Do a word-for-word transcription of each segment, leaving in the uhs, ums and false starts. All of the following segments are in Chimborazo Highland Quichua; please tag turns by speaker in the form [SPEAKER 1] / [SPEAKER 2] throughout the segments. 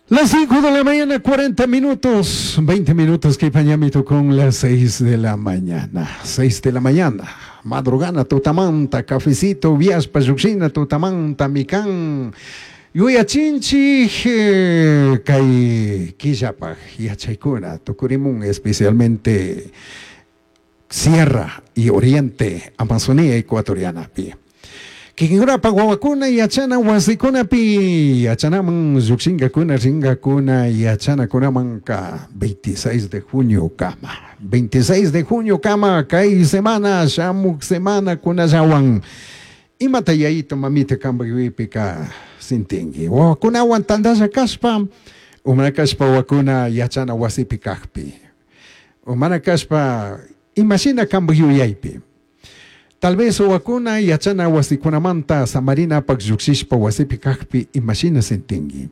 [SPEAKER 1] Las cinco de la mañana, cuarenta minutos, veinte minutos que pañamito con las seis de la mañana. seis de la mañana, madrugana, tutamanta, cafecito, viaspa, yuxina, tutamanta, mikan. Yuyachinchi, kay killapaj, yachaykuna, tukurimun, especialmente Sierra y Oriente, Amazonía ecuatoriana. Kikinkunapa wawakuna yachana wasikunapi yachanaman llukshinkakuna rinkakuna yachanakunamanka veintiséis de junio kama. veintiséis de junio kama kay semana shamuk semana kunallawan. Imata yayito mamita kampak yuyaypika sintinki. Wawakunawan tantalla kashpa, umana kashpa wawakuna yachana wasipi kakpi. Umana kashpa imashina kampak yuyaypi. Tal vez wawakuna yachana wasikunamanta samarinapak llukshishpa wasipi kakpi imashina sintinki.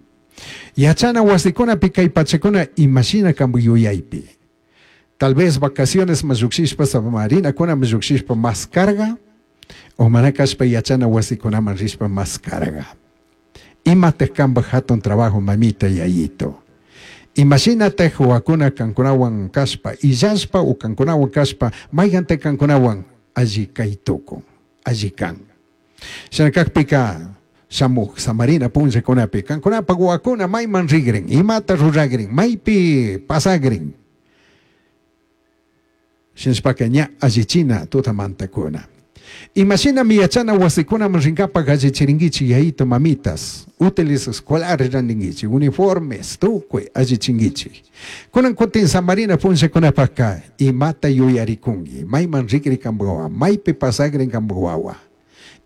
[SPEAKER 1] Yachana wasikunapi kay pachakuna imashina kampak yuyaypi. Tal vez vacaciones mas llukshishpa samarinakuna mas llukshishpa más carga, o mana kashpa yachana wasikunaman rishpa más carga. Imatej kampak hatun trabajo mamita yayito. Imagínate wawakuna kankunawan kashpa, illashpa o kankunawan kashpa, maygante kankunawan alli kaytukun, alli kan. Shina kakpika shamuj samarina punllakunapi kankunapak wawakuna mayman rigrin, imata ruragrin, maypi pasagrin. Shinashpaka ña allichina tutamantakuna. Imashinami yachana wasikunaman rinkapak allichirinkichik yayito mamitas, útiles escolares rantinkichik, uniformes, tukuy allichinkichik. Kunan kutin samarina punllakunapakka imata yuyarikunki, mayman rikri kanpak wawa, maypi pasagrin kanpak wawa.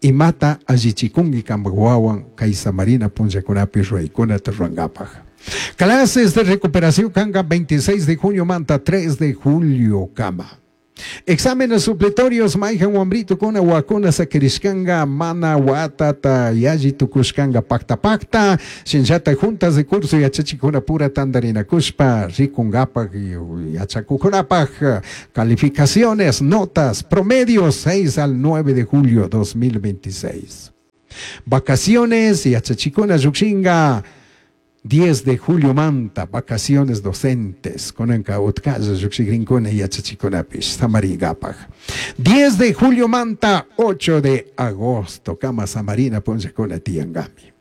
[SPEAKER 1] Imata allichikunki kanpak wawan kay samarina punllakunapi ruraykunata rurankapak. Clases de recuperación kanka veintiséis de junio manta tres de julio kama. Exámenes supletorios, mayhan wambrito kuna wakuna sakirishkanga, mana watata yalli tukushkanga pakta pakta, shinllata juntas de curso yachachikuna pura tandarinakushpa, rikungapak yachakukunapak, calificaciones, notas, promedios seis al nueve de julio dos mil veintiséis. Vacaciones yachachikuna llukshinga, diez de julio manta, vacaciones docentes, konanka utkalla llukshigrinkuna yachachikunapish, samarigapaj. diez de julio manta, ocho de agosto, kama samarina punllakuna tiyangami.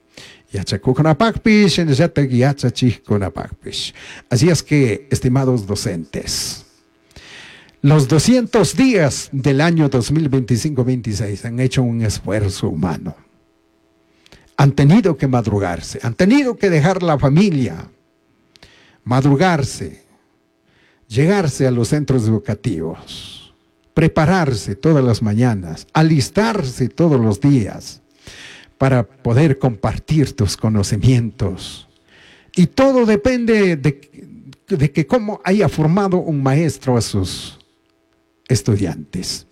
[SPEAKER 1] Yachakukunapakpish, shinallatak yachachikkunapakpish. Así es que, estimados docentes, los doscientos días del año dos mil veinticinco veintiséis han hecho un esfuerzo humano. Han tenido que madrugarse, han tenido que dejar la familia, madrugarse, llegarse a los centros educativos, prepararse todas las mañanas, alistarse todos los días para poder compartir tus conocimientos. Y todo depende de, de que cómo haya formado un maestro a sus estudiantes.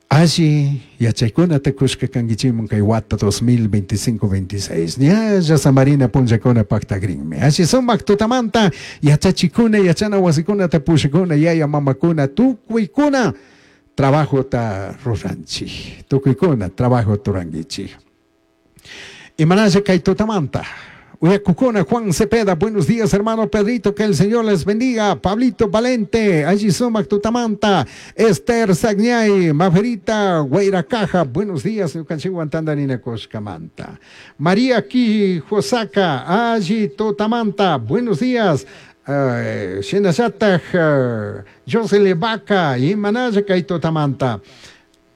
[SPEAKER 1] Allí, yachaykuna takushka kankichimun kay wata dos mil veinticinco veintiséis. Ñalla samarina punllakuna paktagrinmi. Allí sumak tutamanta, yachachikuna, yachana wasikuna tapushikuna, yaya mamakuna, tukuykuna, trabajo ta ruranchik. Tukuykuna, trabajo turankichik. Imanalla kay tutamanta. Uyakukuna, Juan Cepeda, buenos días hermano Pedrito, que el Señor les bendiga. Pablito Valente, allí sumak tutamanta. Esther Sagñay, Maferita Guairacaja, buenos días, ñukanchikwan tandarina Coscamanta. María Quijosaka, allí tutamanta, buenos días. Uh, Shinallataj, uh, Josele Vaca, Imanalla kay tutamanta.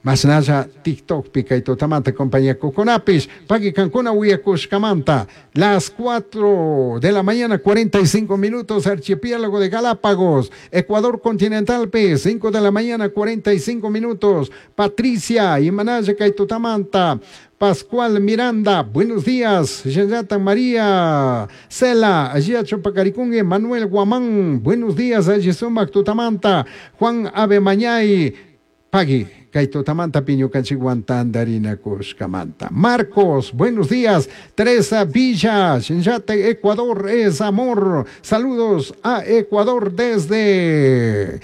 [SPEAKER 1] Masnalla TikTok pica y totamanta compañía Coconapis, Paqui Cancuna Huiacushcamanta, las cuatro de la mañana cuarenta y cinco minutos, Archipiélago de Galápagos, Ecuador Continental P, cinco de la mañana cuarenta y cinco minutos, Patricia Imanaya Caitotamanta, Pascual Miranda, buenos días, Yayata María Cela, allí a Chopacaricungue, Manuel Guamán, buenos días, allí Sumac Tutamanta, Juan Ave Mañay, Pagui, Kaitotamanta, Piño Canchiguantandarina Cuscamanta. Marcos, buenos días. Teresa Villa, Shinyate, Ecuador es amor. Saludos a Ecuador desde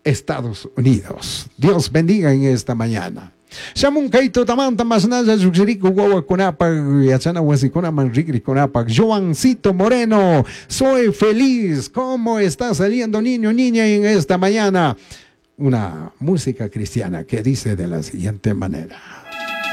[SPEAKER 1] Estados Unidos. Dios bendiga en esta mañana. Shamun kay tutamanta mashnalla llukshirikuk wawakunapak yachana wasikunaman rikrikunapak. Joancito Moreno, soy feliz. ¿Cómo está saliendo niño, niña en esta mañana? Una música cristiana que dice de la siguiente manera.